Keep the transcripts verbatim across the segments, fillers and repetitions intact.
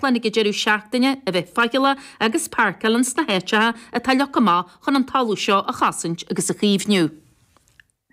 Gháchlann ag an deireadh seachtaine a bheith faichilleach agus páirceáil ins na háiteacha atá leagtha amach chun an talamh seo a chosaint agus a chaomhnú.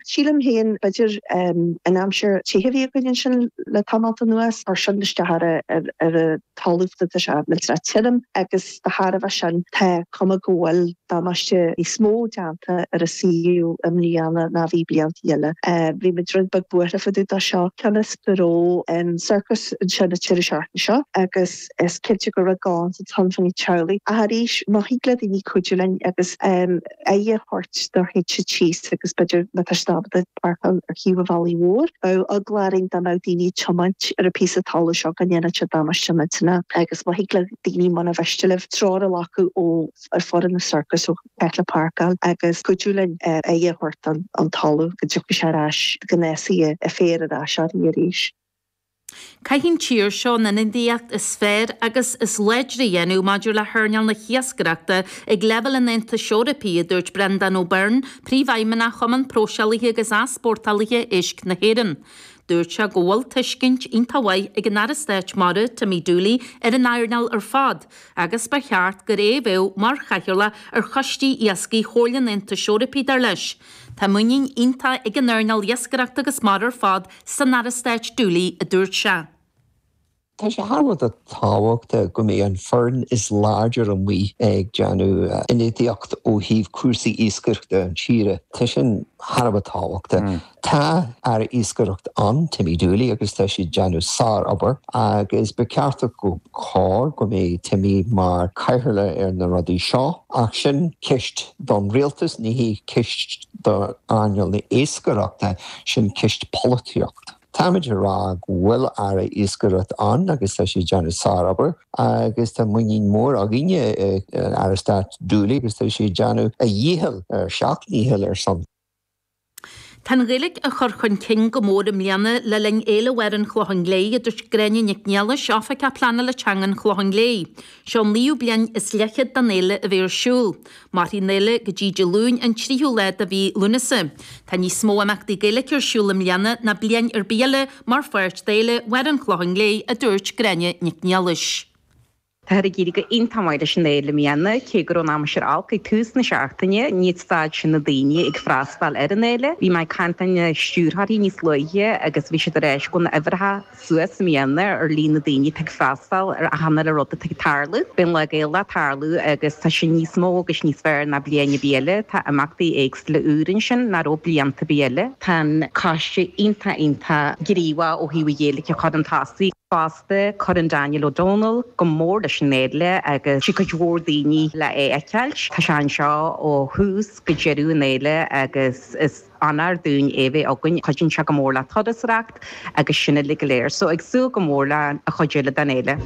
Sílim féin b'fhéidir an aimsir te a bhí againn sin le tamall anuas ar sin isteach ar ar a talamh tá sé millteanach tirim agus de thairbhe sin tá cuma go bhfuil damáiste níos mó déanta ar a suíomh i mbliana ná bhí blianta eile. Bhí muid rud beag buartha fá dtaobh de seo cionn is go raibh an circus ansin an deireadh seachtaine seo agus is cinnte go raibh gá sa tonfanní teaghlaigh. Ach arís má thig le daoine cuidiú linn agus aghaidh a thabhairt do théite síos agus b'fhéidir má tá siad ábalta páirceáil ar thaobh an bhealaigh mhóir. Bheadh eagla orainn dá mbeadh daoine ag tiomáint ar an píosa talamh seo go ndéanfadh sé damáiste millteanach agus má thig le daoine muna mhiste libh treoir a ghlacadh ó ar foireann na circus ó le páirceáil agus cuidiú linn aghaidh a thabhairt an an talamh go dtiocfaidh sé ar ais go n-éascaí a féar ar ais arís. Caithfidh an tír seo an ionadaíocht is fearr agus is láidre a dhéanamh maidir le hearnáil na hiascaireachta ag leibhéal an Aontais Eorpaigh a dúirt Brendan O'Byrne, príomhfheidhmeannach Chumann Próiseálaithe agus Easpórtálaithe Éisc na hÉireann. Dúirt sé go bhfuil tuiscint iontach mhaith ag an Aire Stáit Mara Timmy Dooley ar an earnáil ar fad, agus ba cheart gur é a bheadh mar chathaoirleach ar choistí iascaigh Chomhairle an Aontais Eorpaigh dar leis. Tá muinín iontach ag an earnáil iascaireachta agus mara ar fad san Aire Stáit Dooley a dúirt sé. Tá sé thar a bheith tábhachtach go mbeidh an foireann is láidir amuigh ag déanamh ionadaíocht ó thaobh cúrsaí iascaireachta an tíre. Tá sin thar a bheith tábhachtach. Tá Aire Iascaireachta ann Timmy Dooley agus tá sé déanamh sárobair agus ba cheart go chóir go mbeidh Timmy mar chathaoirleach ar na rudaí seo ach sin ceist don rialtas ní hí ceist do earnáil na hiascaireachta sin ceist polaitíocht. Táimid rá go bhfuil Aire Iascaireachta ann agus tá sé déanamh sárobair agus tá muinín mór againne Aire Stáit Dooley agus tá sé déanamh a dhícheall ar seacht ndícheall ar son. Tá an Ghaeilge á chur chun cinn go mór i mbliana le linn Fhéile Bharr an Chlocháin Léith a dúirt Gráinne Nic Niallais Oifigeach Pleanála Teanga an Chlocháin Léith. Seo an naoú bliain is leithchead den fhéile a bheith ar siúl. Mairfidh an fhéile go dtí Dé Luain an tríú lá de mhí Lúnasa. Tá níos mó imeachtaí Gaeilge ar siúl i mbliana ná bliain ar bith eile mar pháirt d'Fhéile Bharr an Chlocháin Léith a dúirt Gráinne Nic Niallais. Tá ag éirí go hiontach maith leis an fhéile i mbliana cé go raibh an aimsir olc ag tús na seachtaine níor stad sin na daoine ag freastal ar an fhéile. Bhí mé ag caint leis na stiúrthóirí níos luaithe agus bhí siad ar éis go na uimhreacha suas i mbliana ar líon na daoine ag freastal ar achan rud atá ag tarlú. Bíonn Lá Gaelach ag tarlú agus tá sin níos mó agus níos fearr ná bliain ar bith eile, tá imeachtaí éagsúla úr ansin nach raibh blianta ar bith eile. Tá an coiste iontach iontach gníomhach ó thaobh an Ghaeilge a chur chun tosaigh. Fosta cuireann Daniel O'Donnell go mór leis an fhéile agus sé cuid mhór daoine le é a fheiceáil. Tá sé anseo ó thús go deireadh an fhéile agus is onóir dúinn é bheith againn cuidíonn sé go mór le turasóireacht agus sin uilig go léir, so ag súil go mór le a chuid eile den fhéile.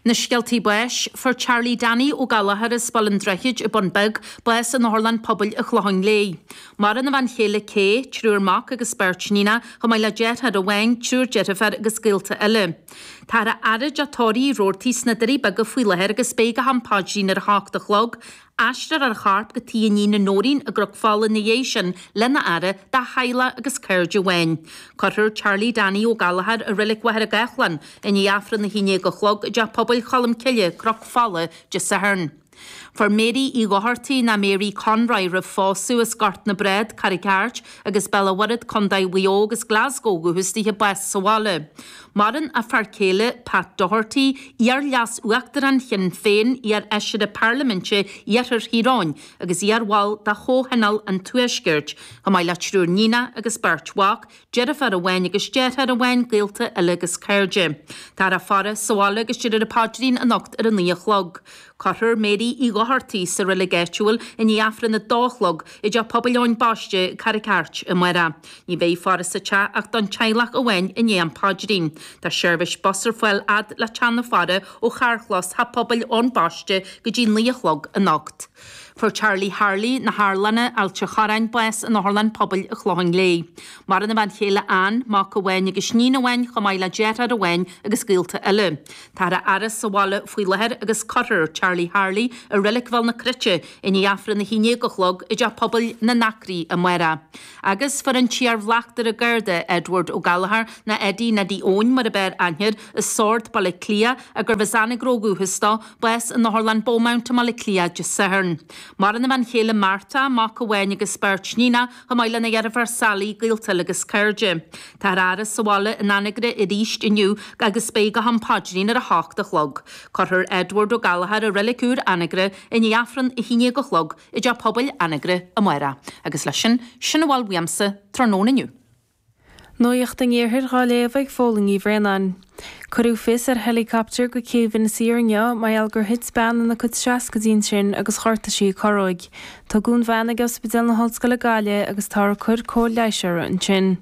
Na scéaltaí báis fuair Charlie Danny Ó Gallchóir as Baile an Droichid i Bun Beag bás in Otharlann Pobail an Chlocháin Léith. Maireann a bhean chéile Kay, triúr mac agus beirt níon, chomh maith le deartháir amháin, triúr deirfiúr agus gaolta eile. Tá a fhaire de Tóirí Roarty sna Doirí Beaga faoi láthair agus beidh go ham paidrín ar a hocht a chlog, Aistreofar a chorp go tigh a iníne Nóirín i gCnoc Fola ina dhiaidh sin lena fhaire dá theaghlach agus cairde amháin. Cuirfear Charlie Danny Ó Gallchóir i Reilig Mhachaire Gathlán i ndiaidh Aifreann a haon déag a chlog i dteach pobail Cholm Cille, Cnoc Fola, Dé Sathairn. Fuair Mary Uí Dhochartaigh ná Mary Conroy roimh phósadh as Gort na Brád, Carraig Airt agus Béal an Mhuirthead Contae Mhaigh Eo agus Glasgow dhúchas bás sa bhaile. Maireann a fear céile Pat Doherty, iar-leas uachtarán Shinn Féin iar-fheisire Parlaiminte Iarthar Thír Eoghain agus iarbhall de Chomhthionól an Tuaiscirt, chomh maith le triúr níon agus beirt mhac, deirfiúr amháin agus deartháir amháin gaolta eile agus cairde. Tá a faire sa bhaile agus déarfar an paidrín anocht ar a naoi a chlog. Cuirfear Mary Uí Dhochartaigh sa reilig áitiúil i ndiaidh Aifreann a dó a chlog i dteach pobail Eoin Baiste Carraig Airt amárach. Ní bheidh faire sa teach ach don teaghlach amháin i ndiaidh an paidrín. Tá seirbhís bus ar fáil fhad le teach na faire ó charrchlós Theach Pobail Eoin Baiste go dtí naoi a chlog anocht. Fuair Charlie Harley na hArlanna Ailt an Chorráin bás in Otharlann Pobail an Chlocháin Léith. Maireann a bhean chéile Ann, mac amháin agus iníon amháin chomh maith le deartháir amháin agus gaolta eile. Táthar á fhaire sa bhaile faoi láthair agus cuirfear Charlie Harley i Reilig Bhéal na Cruite i ndiaidh Aifreann a haon déag a chlog i dTeach Pobail na nAcraí amárach. Agus fuair an t-iar-bhleachtaire Garda Edward Ó Gallchóir nó Eddie Neidí Eoin mar ab fhearr aithne air as Sord Baile Átha Cliath a gurbh as Anagaire ó dhúchas dó, bás in Otharlann Beaumont i mBaile Átha Cliath Dé Sathairn. Maireann a bhean chéile Martha, mac amháin agus beirt níonacha, chomh maith lena dheirfiúr Sally, gaolta agus cairde. Táthar á fhaire sa bhaile in Anagaire arís inniu agus beidh go ham paidrín ar a hocht a chlog. Cuirfear Edward Ó Gallchóir i Reilig Úr Anagaire i ndiaidh Aifreann a haon déag a chlog i dTeach Pobail Anagaire amárach. Agus leis sin, sin a bhfuil uaimse tráthnóna inniu. Nuacht an Iarthair á léamh ag Fódhla Ní Bhraonáin. Cuireadh fios ar helicopter go céibh Inis Oírr inniu mar gheall gur thit bean ina cuid seascaidí ansin agus ghortaigh sí a corróg. Tugadh an bhean ag Ospidéal na hOllscoile Gaillimh agus táthar ag cur cóir leighis uirthi ansin.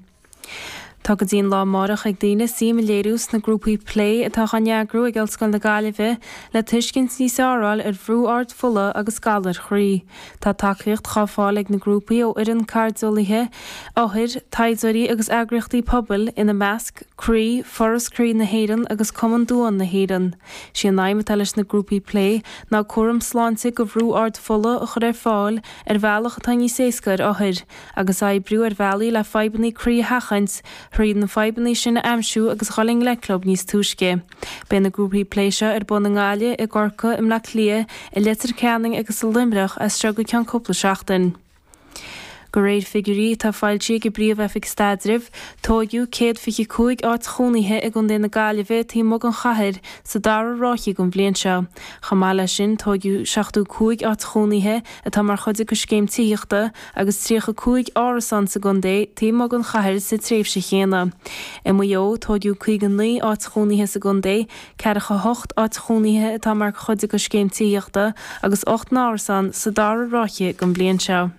Tá go dtí an lá amárach ag daoine suim a léiriú sna grúpaí plé atá á n-eagrú ag Ollscoil na Gaillimhe le tuiscint níos fearr a fháil ar bhrú ard fola agus galair chroí. Tá tacaíocht á fáil ag na grúpaí ó fhoireann cairdeolaithe, othair, taighdeoirí agus eagraíochtaí pobail ina measc Croí, Foras Croí na hÉireann agus Cumann Duán na hÉireann. Sí an aidhm atá leis na grúpaí plé ná cúram sláinte go bhrú ard fola a chur ar fáil ar bhealach atá níos éasca ar othair, agus oibriú ar bhealaí le fadhbanna croí a sheachaint, thríd na fadhbanna sin a aimsiú agus dhul i ngleic leo níos túisce. Beidh na grúpaí plé seo ar bun i nGaillimh, i gCorcaigh, i mBleá Cliath, i Leitir Ceanainn agus i Luimneach as seo go ceann cúpla seachtain. De réir figiúirí atá foilsithe ag an bPríomh-Oifig Staidrimh, tógadh céad fiche cúig áit chónaithe i gContae na Gaillimhe taobh amuigh den chathair sa dara ráithe den bhliain seo. Chomh maith leis sin tógadh seachtó cúig áit chónaithe atá mar chuid de scéim tithíochta agus tríocha cúig árasán sa gcontae taobh amuigh den chathair sa tréimhse chéanna. I Maigh Eo tógadh caoga naoi áit chónaithe sa gcontae, ceathracha hocht áit chónaithe atá mar chuid de scéim tithíochta agus ocht n-árasán sa dara ráithe den bhliain seo.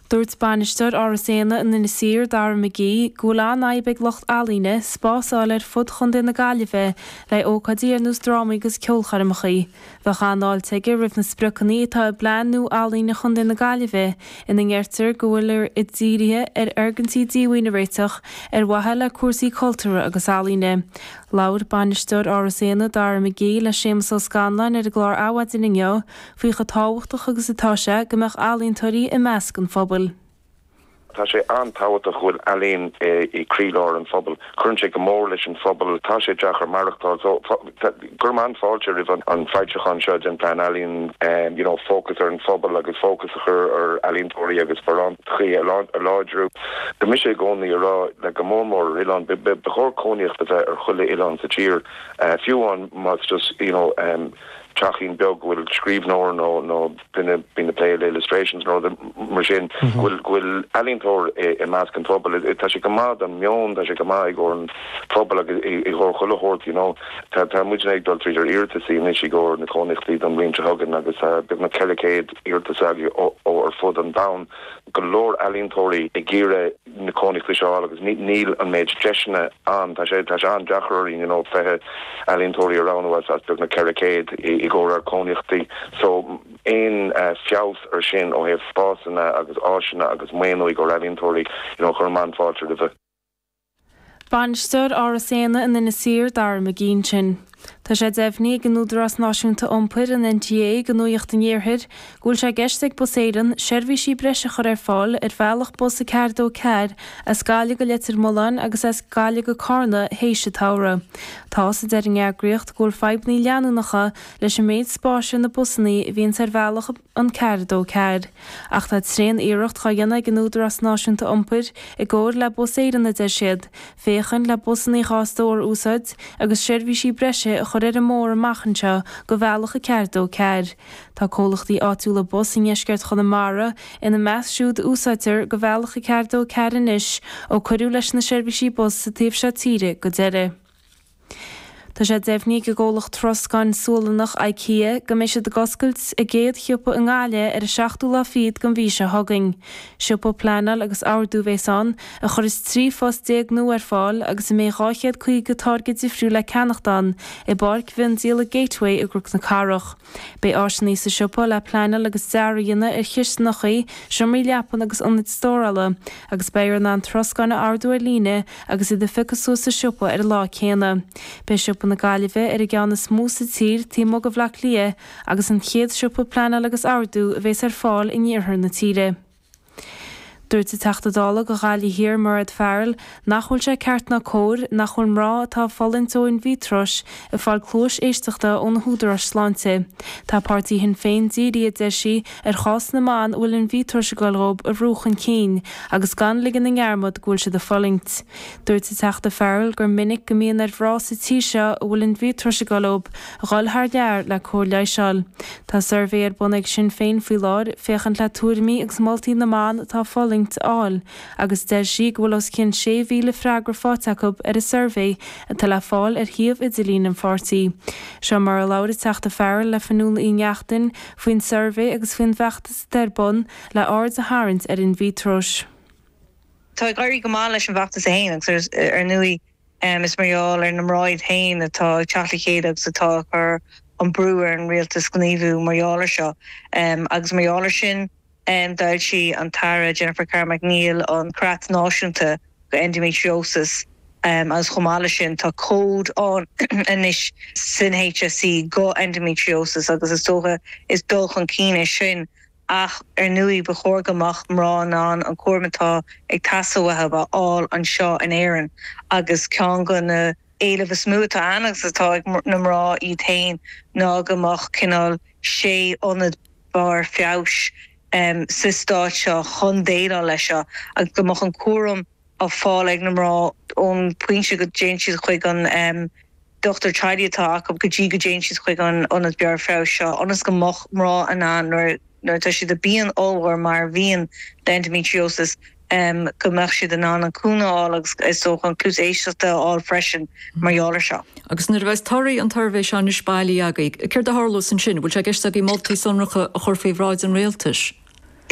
Dúirt bainisteoir Áras Éanna in Inis Oírr Dara McGee go bhfuil an-fhadhb ag lucht ealaíne spás a fháil ar fud Chontae na Gaillimhe le ócáidí ar nós drámaí agus ceolchoirmeacha. Bheadh an-fháilte aige roimh na spriocanna atá i bplean nua ealaíne Chontae na Gaillimhe ina ndeirtear go bhfuil i dírithe ar fhoirgintí díomhaoin a réiteach ar mhaithe le cúrsaí cultúrtha agus ealaíne. Labhair bainisteoir Áras Éanna Dara McGee le Séamus Ó Scanláin ar an gclár Adhmhaidin inniu faoi chomh tábhachtach agus atá sé go mbeadh ealaíontóirí i measc an phobail. Tá sé an-tábhachtach go bhfuil ealaín i gcroílár an phobail. Cuireann sé go mór leis an phobal, tá sé deacair maireachtáil so cuirim an-fháilte roimh an foilseachán seo den plean ealaíon you know, fócas ar an phobal agus fócas a chur ar ealaíontóirí agus sparántachaí a láidriú. Tá mise i gcónaí ag rá le go mór mór ar oileán ba chóir cónaíocht a bheith ar chuile oileán sa tír fiú amháin más just you know, um, teachín beag bhfuil scríbhneoir nó nó duine bíonn ag plé le illustrations nó mar sin bhfuil bhfuil ealaíontóir i measc an phobal tá sé go maith don meon tá sé go maith i gcomhair an phobal agus i gcomhair chuile shórt you know tá tá muid ag dul tríd ar iarratais anois i gcomhair na cónaíochtaí don bhliain seo chugainn agus beagnach ceithre chéad iarratas ó ar fud an domhain go leor ealaíontóirí ag iarraidh na cónaíochtaí seo agus níl an méid deiseanna ann tá sé tá sé an-deacair you know fiche ealaíontóirí a roghnú as as beagnach ceithre chéad i gcomhair cónaíochtaí so aon uh, feabhas ar sin ó thaobh spásanna agus áiseanna agus maoiniú go ealaíontóirí you know chuir an-fháilte roimhe. Bainisteoir Áras Éanna in Inis Oírr Dara McGee ansin. Tá sé deimhnithe ag an Údarás Náisiúnta Iompair an NTA do Nuacht an Iarthair, go bhfuil sé i gceist ag Bus Éireann seirbhísí breise a chur ar fáil ar bhealach bus a ceathair dó ceathair as Gaillimh go Leitir Mealláin agus as Gaillimh go Carna théis an tsamhraidh. Tá a deir an eagraíocht go bhfuil fadhbanna leanúnacha leis an méid spáis ar na busanna a bhíonn ar bhealach an ceathair dó ceathair. Ach tá tréan-iarracht á dhéanamh ag an Údarás Náisiúnta Iompair i gcomhar le Bus Éireann a deir siad, féachaint le busanna dhá stór a úsáid agus seirbhísí breise a chur ar an mbóthar amach anseo go bhealach a ceathair dó ceathair. Tá comhlachtaí áitiúla bus i ndeisceart Chonamara ina measc siúd a úsáidtear go bhealach a ceathair dó ceathair anois ó cuireadh leis na seirbhísí bus sa taobh seo tíre go deireadh. Tá sé deimhnithe ag an gcomhlacht troscáin Sualannach IKEA go mbeidh siad ag oscailt a gcéad shiopa i nGaillimh ar an seachtú lá fichead den mhí seo chugainn. Siopa pleanáil agus ordú a bheas ann, a chuirfeas trí phost déag nua ar fáil agus a mbeidh dhá chéad caoga táirge difriúil le ceannacht ann i bPáirc Mhiondíola Gateway i gCnoc na Cathrach. Beidh áiseanna sa siopa le pleanáil agus dearadh a dhéanamh ar chistineacha, seomraí leapan agus ionaid stórála agus beifear in ann troscán a ordú ar líne agus iad a phiocadh suas sa siopa ar an lá céanna. Beidh siopa na Gaillimhe ar an gceann is mó sa tír taobh amuigh de Bhaile Átha Cliath agus an chéad siopa pleanáil agus ordú a bheas ar fáil in iarthar na tíre. Dúirt an Teachta Dála do Ghaillimh Thiar Mairéad Farrell nach bhfuil sé ceart ná cóir nach bhfuil mná atá ag fulaingt ó aindmítreois ag fáil cluais éisteachta ó na húdaráis sláinte. Tá páirtí Shinn Féin dírithe, a deir sí, ar chás na mban a bhfuil aindmítreois ag goil dhóibh a bhrú chun cinn agus gan ligean i ndearmad go bhfuil siad ag fulaingt. Dúirt an Teachta Farrell gur minic go mbíonn ar mhná sa tír seo a bhfuil aindmítreois ag goil dhóibh a dhul thar lear le cóir leighis a fháil. Tá suirbhé ar bun ag Sinn Féin faoi láthair féachaint le tuairimí agus moltaí na mban atá ag fulaingt a fháil agus deir sí go bhfuil os cionn sé mhíle freagra faighte acu ar an suirbhé atá le fáil ar shuíomh idirlín an pháirtí. Seo mar a labhair an Teachta Farrell le Fionnuala Uí Neachtain faoin suirbhé agus faoin bhfeachtas atá ar bun le aird a tharraingt ar aindmítreois. Tá ag éirí go maith leis an bhfeachtas é féin agus ar ndóigh is mar gheall ar na mná iad féin atá ag teacht le chéile agus atá ag cur an brú ar an rialtas gníomhú mar gheall air seo agus mar gheall air sin D'fhoilsigh an tAire Jennifer Carroll MacNeill an Creat Náisiúnta do Endometriosis agus chomh maith leis sin tá cód ann anois san HSE do endometriosis agus is dócha is dul chun cinn é sin ach ar ndóigh ba chóir go mbeadh mná in ann an cúram atá ag teastáil uathu a fháil anseo in Éirinn agus ceann de na éilimh is mó atá ann agus atá ag na mná iad féin ná go mbeadh cineál sé ionad barr feabhais sa stát seo chun déileáil leis seo agus go mbeadh an cúram á fáil ag na mná ón bpointe go dtéann siad chuig an dochtúir teaghlaigh atá acu go dtí go dtéann siad chuig an ionad barr feabhais seo ionas go mbeadh mná in ann nuair nuair atá siad i bpian ollmhór mar a bhíonn le endometriosis go mbeadh siad in ann an cúnamh a fháil agus is dócha an cluas éisteachta a fháil freisin mar gheall air seo. Agus nuair a bheas torthaí an tsuirbhé seo anois bailithe agaibh, céard a tharlós ansin? Bhfuil sé i gceist agaibh moltaí sonracha a chur faoi bhráid an rialtais?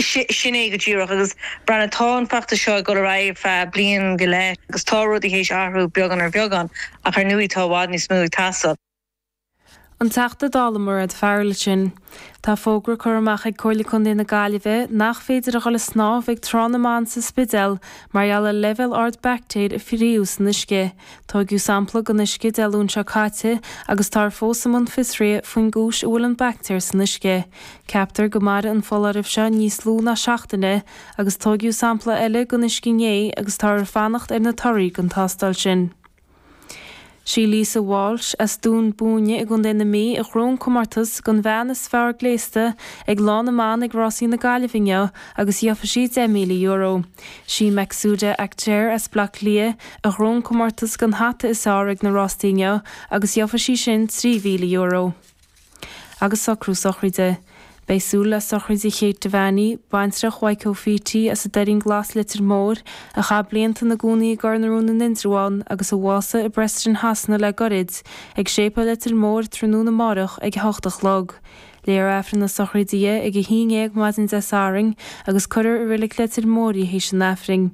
Sin é go díreach. Agus breathnaigh, tá an feachtas seo ag dul ar aghaidh ar feadh bliain go leith agus tá rudaí théis athrú beagán ar bheagán ach ar ndóigh tá i bhfad níos mó ag teastáil. An Teachta Dála Mairéad Farrell ansin. Tá fógra curtha amach ag Comhairle Contae na Gaillimhe nach féidir a dhul ag snámh ag Trá na mBan sa Spidéal mar gheall ar leibhéal ard baictéir a fíoraíodh san uisce. Tóigeadh sampla den uisce Dé Luain seo caite agus táthar fós i mbun fiosraithe faoin gcúis a bhfuil an baictéar san uisce. Ceaptar go mairfidh an foláireamh seo níos lú ná seachtaine agus tóigeadh sampla eile den uisce inné agus táthar ag fanacht ar na torthaí den tástáil sin. Sí Lisa Walsh as Dún Búinne i gContae na Mí a ghnóthaigh an comórtas don bhean is fearr gléasta ag Lá na mBan ag Rásaí na Gaillimhe inniu agus gheobhaidh sí deich míle euro. Sí Maqsooda Akhter as Baile Átha Cliath a ghnóthaigh an comórtas don hata is fearr ag na rástaí inniu agus gheobhaidh sí sin trí mhíle euro. Agus socrú sochraide. Beidh súil le sochraid Kate Devaney, baintreach Mhaidhc Ó as an Doirín Glas Leitir Móir, a chaith blianta ina gcónaí i gCorr na Rón in Indreabhán agus a bhásaigh i bPreston Shasana le goirid, ag Séipéal Leitir Móir tráthnóna amárach ag a hocht a chlog. Léifear Aifreann na sochraide di ag a haon dhéag maidin Dé Sathairn agus cuirfear i Reilig Leitir Móir í théis an Aifrinn.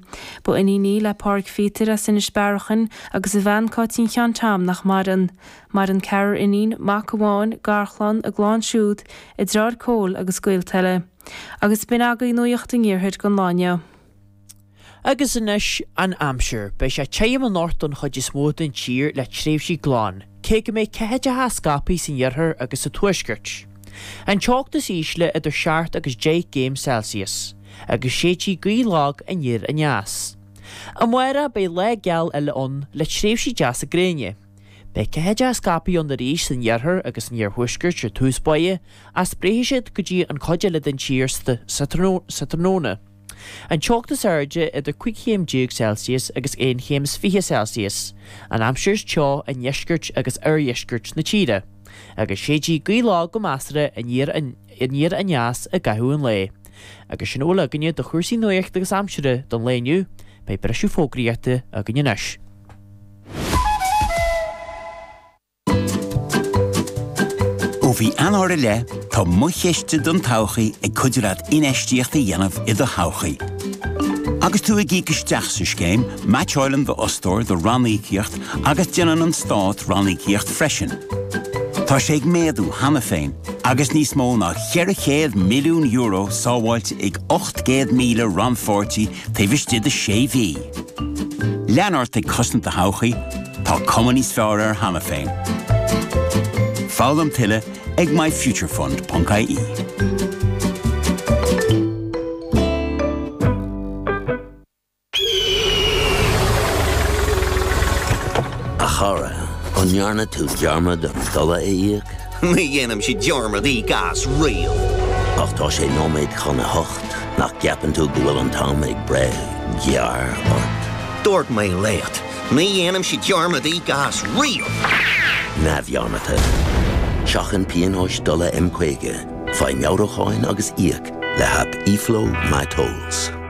Ba iníon í le Pádraig Phíotair as Inis Bearachain agus a bhean Cáitín Sheáin Tom nach maireann. Maireann ceathrar iníon, mac amháin, garchlann, a gclann siúd, a deartháir Cóil agus gaolta eile. Agus b'in agaibh Nuacht an Iarthair don lá inniu. Agus anois an aimsir. Beidh sé tirim anocht don chuid is mó den tír le tréimhsí glan, cé go mbeidh ceathaideacha scaipthe san iarthar agus sa tuaisceart. An teocht is ísle idir seacht agus deich gcéim Celsius, agus séidfidh gaoth lag aniar aneas. Amárach beidh lá geal eile ann le tréimhsí deasa gréine. Beidh ceathaideacha scaipthe ann arís san iarthar agus san iarthuaisceart ar tús báire, ach spréifidh siad go dtí an chuid eile den tír sa tráthnóna. An teocht is airde idir cúig chéim déag Celsius agus aon chéim is fiche Celsius. An aimsir is teo i ndeisceart agus oirdheisceart na tíre. Agus séidfidh gaoth lag go measartha aniar aniar aneas i gcaitheamh an lae. Agus sin a bhfuil againne de chúrsaí nuachta agus aimsire don lae inniu, beidh briseadh fógraíochta againn anois. Ó mhí Eanáir i leith, tá Mo Chiste don Todhchaí ag cuidiú leat infheistíocht a dhéanamh i do thodhchaí. Agus tú ag íoc isteach sa scéim, meaitseálann d'fhostóir do ranníocaíocht agus déanann an stát ranníocaíocht freisin. Tá sé ag méadú cheana féin, agus níos mó ná ceithre chéad milliún euro sábháilte ag ocht gcéad míle rannpháirtí taobh istigh de sé mhí. Lean ort ag cosaint do thodhchaí, tá cuma níos fearr air cheana féin. Foghlaim tuilleadh ag myfuturefund ponc ie. A chara, an ndearna tú dearmad an dola a íoc? Ní dhéanaimse dearmad íoc as riamh! Ach tá sé nóiméad chun a hocht, nach gceapann tú go bhfuil an t-am ag breith gearr ort? Dúirt mé leat, ní dhéanaimse dearmad íoc as riamh! Neamhdhearmadta. Seachain pionóis dola M caoga, faigh meabhrúcháin agus íoc le haip eFlow MyTolls.